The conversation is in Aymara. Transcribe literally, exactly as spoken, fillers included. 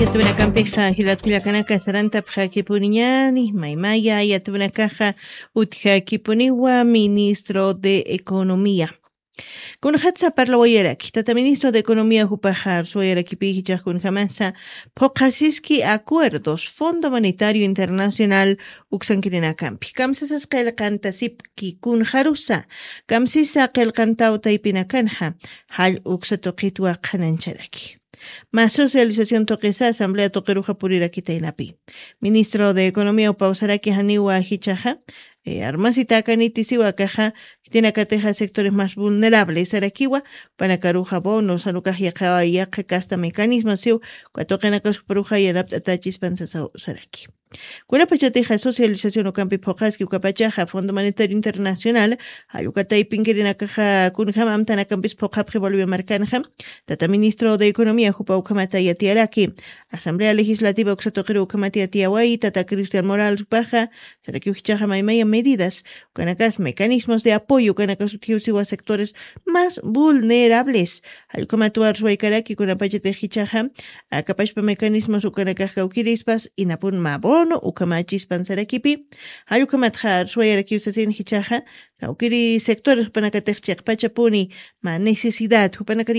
Yatwinakampixa jilatkullakanaka sarantapxakipuniñani maymaya yatwinakaxa utjakipuniwa ministro de economía. Kunxatsa parlawayaraki tata ministro de economía jupaxa arsuwayarakipi jichax kunjamasa phuqasiski acuerdos fondo monetario internacional uksankirinakampi kamsasas qillqantasipki kunxarusa kamsisa qillqantaw taypinakanxa jall uksa tuqitwa qhanancharaki. Mä socialización tuqisa asamblea tuqiruxa purirakitaynapi ministro de economía upawsaraki janiwa jichaxa armasitäkaniti siwa kaxa jitinakatixa sectores más vulnerables sarakiwa panakaruxa bono sanukax yaqha yaqha kasta mecanismo siw katuqinakaskuparuxa yanapt'atachispan sasaw saraki. Kunapachatixa socialización ukampi phuqaski ukapachaxa fondo monetario internacional jallukataypinkirinakaxa kunjama amtanakampis phuqapxi bolivia markanxa tata ministro de economía jupa ukhamata yatiyaraki asamblea legislativa uksatuqiru ukhamata yatiyaway tata cristian morales upaxa sarakiw jichaxa maymaya medidas ukanakas mecanismos de apoyo ukanakas utjiw siwa sectores más vulnerables jallukhamat warsuwaykaraki kunapachatix jichaxa akapashpa mecanismos ukanakax kawkirispas inapun mabono ukhamachispan sarakipi jallukhamatxa arsuwayarakiw sasin jichaxa kawkiri sectores jupanakatix chiqpachapuni mä necesidad jupanakar